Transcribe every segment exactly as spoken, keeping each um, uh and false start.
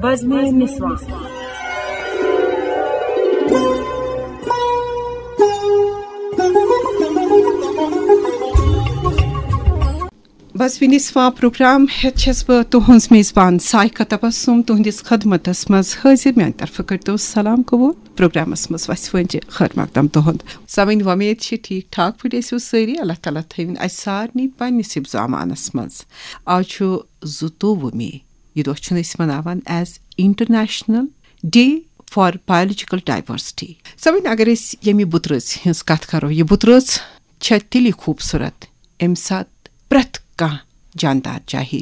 بزمِ نسواں۔ بزمِ نسواں programme ہیتھ چھس بہٕ تُہنٛز میزبان سائقہ تبسم تُہنٛدِس خدمتس منٛز حٲضِر۔ میانہِ طرفہٕ کٔرتو سلام قبول۔ پروگرامس منٛز وسہِ وٲنجہِ خٲر مقدم تُہنٛد۔ سامعین، وۄمید چھِ ٹھیٖک ٹھاک پٲٹھۍ ٲسِو سٲری۔ اللہ تعالیٰ تھٲوِن اسہِ سارنٕے پننِس حفظ و امانس منٛز۔ آز چھُ زٕتووُہ مے۔ یہِ دۄہ چھُنہٕ أسۍ مناوان as International Day for Biological Diversity۔ سامعین، اگر أسۍ ییٚمہِ بُترٲژ ہٕنٛز کتھ کرو، یہِ بُترٲژ چھےٚ تیٚلی خوٗبصوٗرت، ییٚمہِ ساتہٕ پرٛٮ۪تھ کانٛہہ جاندار، چاہے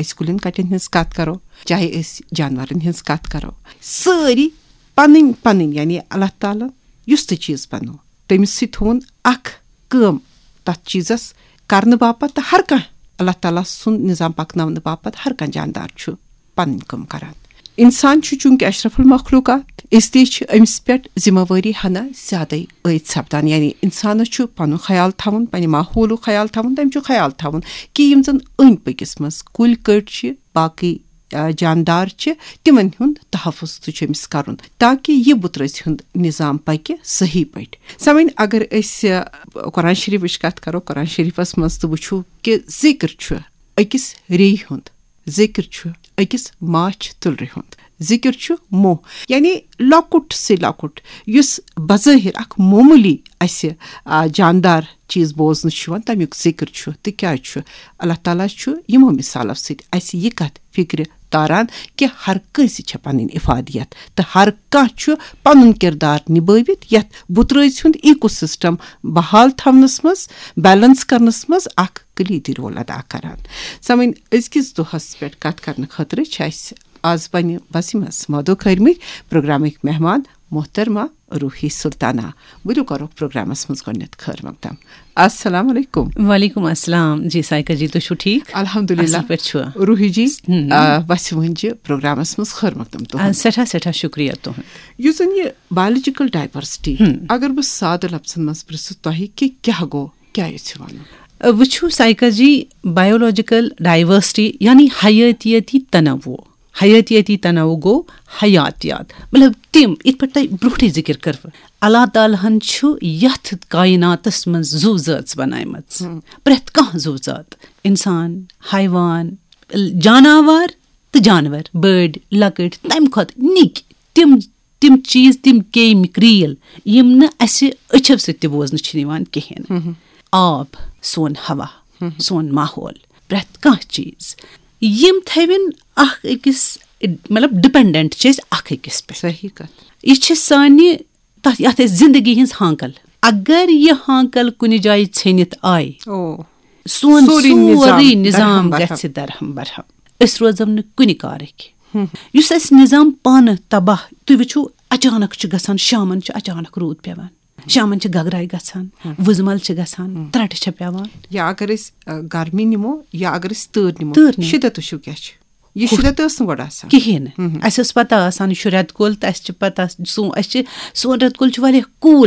أسۍ کُلٮ۪ن کٹٮ۪ن ہٕنٛز کتھ کرو، چاہے أسۍ جانورن ہٕنٛز کتھ کرو، سٲری پنٕنۍ پنٕنۍ، یعنی اللہ تعالیٰ یُس تہِ چیٖز بنوو، تٔمِس سۭتۍ تھوٚوُن اکھ کٲم تتھ چیٖزس کرنہٕ باپتھ، تہٕ ہر کانٛہہ اللہ تعالیٰ سُنٛد نظام پکناونہٕ باپتھ ہر کانٛہہ جاندار چھُ پنٕنۍ کٲم کران۔ انسان چھُ چوٗنٛکہِ اشرف المخلوقات، اس لیے چھِ أمِس پٮ۪ٹھ ذمہ وٲری ہنا زیادَے عٲید سپدان۔ یعنی انسانس چھُ پنُن خیال تھاوُن، پننہِ ماحولُک خیال تھاوُن، تٔمۍ چھُ خیال تھاوُن کہِ یِم زن أنٛدۍ پٔکِس منٛز کُلۍ کٔٹۍ چھِ، باقٕے، آ، جاندار چھِ، تِمن ہُنٛد تحفظ تہِ چھُ أمِس کرُن، تاکہِ یہِ بُترٲژ ہُنٛد نظام پکہِ صحیح پٲٹھۍ۔ سامعین، اگر أسۍ، آ، قرآن شریفٕچ کتھ کرو، قرآن شریفس منٛز تہِ وٕچھو کہِ ذکر چھُ أکِس ریٚیہِ ہُنٛد، ذکر چھُ أکِس ماچھ تُلرِ ہُنٛد، ذکر چھُ موہ، یعنی لۄکُٹ سے لۄکُٹ، یُس بظٲہر اکھ معموٗلی اسہِ، آ، جاندار چیٖز بوزنہٕ چھُ یِوان، تمیُک ذکر چھُ۔ تہٕ کیٛازِ چھُ؟ اللہ تعالیٰ چھُ یِمو مثالو سۭتۍ اسہِ یہِ کتھ فکرِ تاران کہِ ہر کٲنٛسہِ چھےٚ پنٕنۍ افادیت تہٕ ہر کانٛہہ چھُ پنُن کردار نبٲوِتھ یتھ بُترٲژ ہُنٛد ایکو سسٹم بحال تھاونس منٛز، بیلنس کرنس منٛز اکھ کلیدی رول ادا کران۔ سامعین، أزکِس دۄہس پٮ۪ٹھ کتھ کرنہٕ خٲطرٕ چھِ اسہِ آز پننہِ بسہِ منٛز مدعو کٔرمٕتۍ پروگرامٕکۍ مہمان محترمہ روحی سلطانہ۔ ؤلِو کرو پروگرامس منٛز گۄڈٕنٮ۪تھ خٲر مقدم۔ السلام علیکم۔ وعلیکم السلام۔ جی سائقہ جی، تُہۍ چھِو ٹھیٖک؟ الحمدللہ۔ اصل پٲٹھۍ چھِوا؟ روحی جی، ہم۔ آ، وسہِ وٲنجہِ پروگرامس منٛز خٲر مقدم آ، تُہُنٛد۔ سٮ۪ٹھاہ، سٮ۪ٹھاہ شُکریہ تُہُنٛد۔ یُس زن یہِ biological diversity، ہم۔ اگر بہٕ سادٕ لفظن منٛز پرژھٕ تۄہہِ کہِ کیٛاہ گوٚو، کیٛاہ یژھِو ونُن؟ آ، وٕچھِو سائقہ جی، biological diversity یعنی حیٲتیٲتی تنوع۔ حیٲتیٲتی تنوع گوٚو حیاتیات، مطلب تِم، یِتھ پٲٹھۍ تۄہہِ برونٛٹھٕے ذِکِر کٔروٕ، اللہ تعالیٰ ہن چھُ یتھ کائناتس منٛز زُو زٲژ بناومٕژ۔ ہم۔ پرٛٮ۪تھ کانٛہہ زُو زات، انسان، حیوان، جاناوار تہٕ جانور، بٔڑۍ، لۄکٕٹۍ، تمہِ کھۄتہٕ نِکۍ، تِم، تِم چیٖز، تِم کیمۍ کرٛیٖل، یِم نہٕ اسہِ أچھو سۭتۍ تہِ بوزنہٕ چھِ یِوان کِہیٖنۍ۔ ہم۔ آب، سون ہوا، ہم۔ سون ماحول، پرٛٮ۪تھ کانٛہہ چیٖز، یِم تھٲوِن اکھ أکِس، مطلب، ڈپینڈنٹ چھِ أسۍ اکھ أکِس پٮ۪ٹھ۔ صحیح کتھ۔ یہِ چھِ سانہِ تتھ، یتھ أسۍ زندگی ہٕنٛز ہانکل۔ اگر یہِ ہانکل کُنہِ جایہِ ژھیٚنِتھ آیہِ، او۔ سون سورُے نظام سورُے نظام درہم برہم۔ گژھِ درہم برہم۔ أسۍ روزو نہٕ کُنہِ کارٕکۍ۔ ہم۔ یُس اَسہِ نظام پانہٕ تباہ، تُہۍ وٕچھِو، اچانک چھُ گژھان، شامن چھُ اچانک روٗد پٮ۪وان، شامن چھِ گگراے گژھان، ہم۔ وُزمل چھِ گژھان، ہم۔ ترٛٹہٕ چھےٚ پٮ۪وان۔ یا اگر أسۍ، آ، گرمی نِمو یا اگر أسۍ تۭر نِمو، تۭر نِمو۔ شِدت وٕچھِو کیٛاہ چھُ۔ یہِ شِدت ٲس نہٕ گۄڈٕ آسان۔ کِہیٖنۍ نہٕ۔ ہم۔ اَسہِ ٲس پتہ آسان، یہِ چھُ رٮ۪تہٕ کول تہٕ اَسہِ چھِ پتہ، سون، اَسہِ چھِ، سون رٮ۪تہٕ کول چھُ واریاہ cool